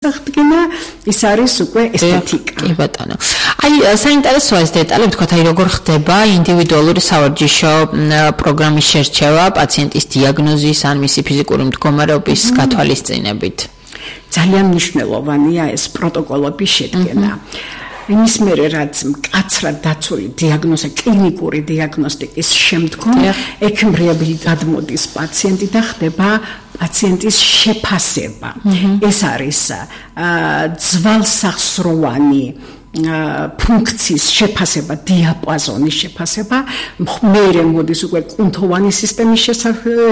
აღდგენა ის არის უკვე ესთეტიკა. კი ბატონო. აი საინტერესოა ეს დეტალი, ვთქვათ, აი როგორ ხდება ინდივიდუალური სავარჯიშო პროგრამის შერჩევა პაციენტის დიაგნოზის ან მისი ფიზიკური მდგომარეობის გათვალისწინებით. ძალიან მნიშვნელოვანია ეს პროტოკოლების შედგენა. იმის მერე რაც მკაცრად დაცული დიაგნოზა, კლინიკური დიაგნოსტიკის შემდგომ ექიმრიაბილი გადმოდის პაციენტი და ხდება პაციენტის შეფასება. ეს არის ძვალსახსროვანი ფუნქციის შეფასება, დიაპაზონის შეფასება, მერე მოდის უკვე კუნთოვანი სისტემის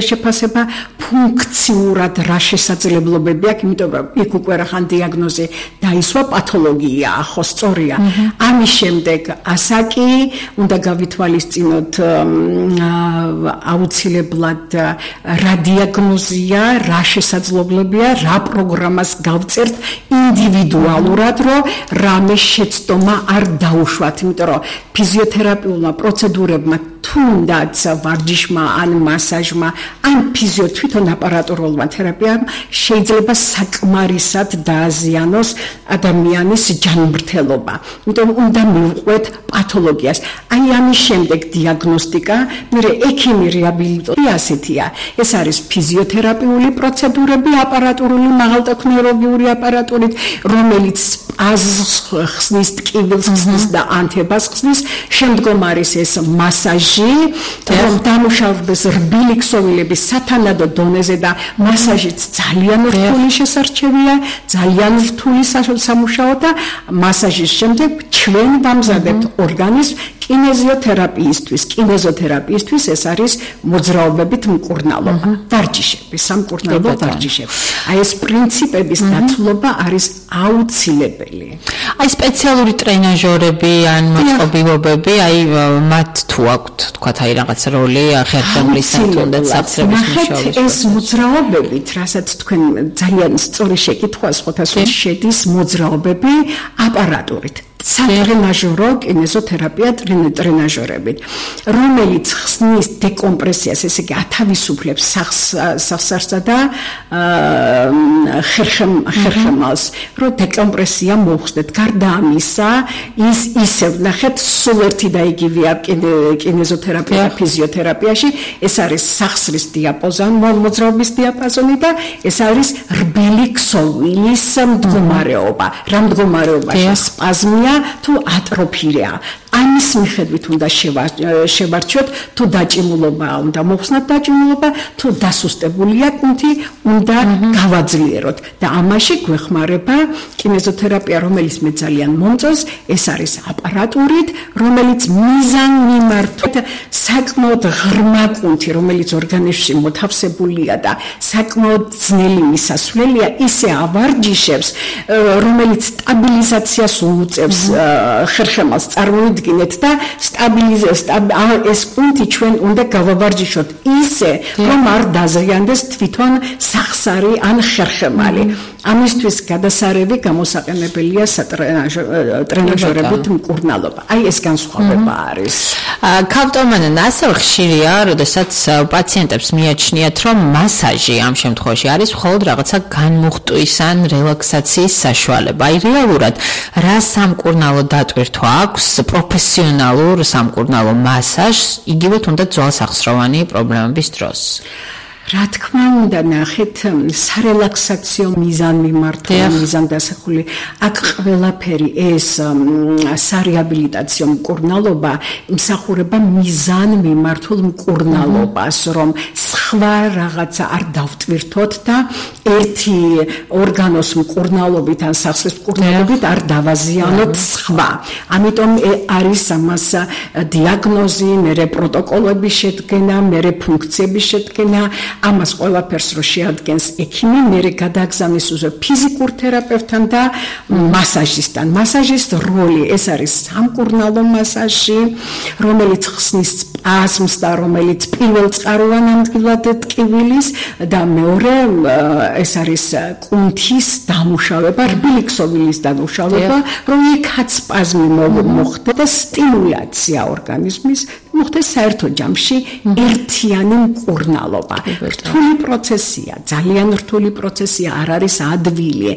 შეფასება, ფუნქციურად რა შესაძლებლობები აქვს, იმიტომ რომ იქ უკვე რახან დიაგნოზი დაისვა, პათოლოგია, ხო სწორია. ამის შემდეგ ასაკი უნდა გავითვალისწინოთ აუცილებლად რა დიაგნოზია, რა შესაძლებლობია, რა პროგრამას გავწერთ ინდივიდუალურად, რომ რამე ცდომა არ დაუშვათ, იმიტომ რომ ფიზიოთერაპიულმა პროცედურებმა თუნდაც ვარჯიშმა ან მასაჟმა ან თვითონ აპარატურულმა თერაპიამ შეიძლება საკმარისად დააზიანოს ადამიანის ჯანმრთელობა. იმიტომ უნდა მივყვეთ პათოლოგიას. აი ამის შემდეგ დიაგნოსტიკა, მერე ექიმი რეაბილიტაცია ასეთია. ეს არის ფიზიოთერაპიული პროცედურები, აპარატურული მაღალტექნოლოგიური აპარატურით, რომელიც სპაზმს ხსნის, ტკივილს ხსნის და ანთებას ხსნის. შემდგომ არის ეს მასაჟი, რომ დამუშავდეს რბილი ქსოვილების სათანადო დონეზე და მასაჟიც ძალიან რთული შესარჩევია, ძალიან რთული სამუშაო და მასაჟის შემდეგ ჩვენ ვამზადებთ ორგანიზმს კინეზოთერაპიისთვის ეს არის მოძრაობებით მკურნალობა, ვარჯიშები, სამკურნალო ვარჯიშები. აი ეს პრინციპების დაცულობა არის აუცილებელი. აი სპეციალური ტრენაჟორები ან მოწყობილობები, აი მათ თუ აქვთ, თქვათ, აი რაღაც როლი ხერხემლის თუნდაც საფრთხების მუშაობაში. ეს მოძრაობებით, რასაც თქვენ ძალიან სწორი შეკითხვა სხვათაშორის შედის მოძრაობები აპარატურით. სატრენაჟორო კინეზოთერაპია ტრენაჟორებით, რომელიც ხსნის დეკომპრესიას, ესე იგი ათავისუფლებს სახსარსა და ხერხემალს, რომ დეკომპრესია მოხსნეთ. გარდა ამისა, ის ისევ ნახეთ, სულ ერთი და იგივეა კინეზოთერაპია და ფიზიოთერაპიაში, ეს არის სახსრის მოძრაობის დიაპაზონი და ეს არის რბილი ქსოვილის მდგომარეობა. რა მდგომარეობაში? სპაზმია თუ ატროფია. ამის მიხედვით უნდა შევარჩიოთ, თუ დაჭიმულობაა, უნდა მოხსნათ დაჭიმულობა, თუ დასუსტებულია კუნთი, უნდა გავაძლიეროთ. და ამაში გვეხმარება კინეზოთერაპია, რომელიც მე ძალიან მომწონს, ეს არის აპარატურით, რომელიც მიზანმიმართვით საკმაოდ ღრმა კუნთი, რომელიც ორგანიზმში მოთავსებულია და საკმაოდ ძნელი მისასვლელია, ისე ავარჯიშებს, რომელიც სტაბილიზაციას უწევს ხერხემალს. წარმოიდგინეთ და ეს კუნთი ჩვენ უნდა გავავარჯიშოთ ისე, რომ არ დაზიანდეს თვითონ სახსარი ან ხერხემალი. ამისთვის გადასარევი გამოსაყენებელია ტრენაჟორებით მკურნალობა. აი ეს განსხვავება არის. ქავტომანან ასევე ხშირია, როდესაც პაციენტებს მიაჩნიათ, რომ მასაჟი ამ შემთხვევაში არის მხოლოდ რაღაცა განმუხტვის ან რელაქსაციის საშუალება. აი რეალურად რა სამკურნალო დატვირთვა აქვს პროფესიონალურ სამკურნალო მასაჟს, იგივე თუნდაც ძვალსახსროვანი პრობლემების დროს? რა თქმა უნდა, ნახეთ, სარელაქსაციო მიზანმიმართველი, მიზანდასახული, აქ ყველაფერი ეს სარეაბილიტაციო მკურნალობა იმსახურება მიზანმიმართულ მკურნალობას, რომ სხვა რაღაცა არ დავტვირთოთ და ერთი ორგანოს მკურნალობით ან სახსრის მკურნალობით არ დავაზიანოთ სხვა. ამიტომ არის ამას დიაგნოზი, მერე პროტოკოლების შედგენა, მერე ფუნქციების შედგენა. ამას ყველაფერს რო შეადგენს ექიმი, მერე გადააგზავნის ფიზიკურ თერაპევტთან და მასაჟისტთან. მასაჟის როლი ეს არის სამკურნალო მასაჟი, რომელიც ხსნის სპაზმს და რომელიც პირველწყაროვან ადგილად ტკივილის და მეორე ეს არის კუნთის დამუშავება, რბილი ქსოვილის დამუშავება, რომ იქაც სპაზმი მოხდეს და სტიმულაცია ორგანიზმის მოხდეს საერთო ჯამში ერთიანი მკურნალობა. რთული პროცესია, ძალიან რთული პროცესია, არ არის ადვილი.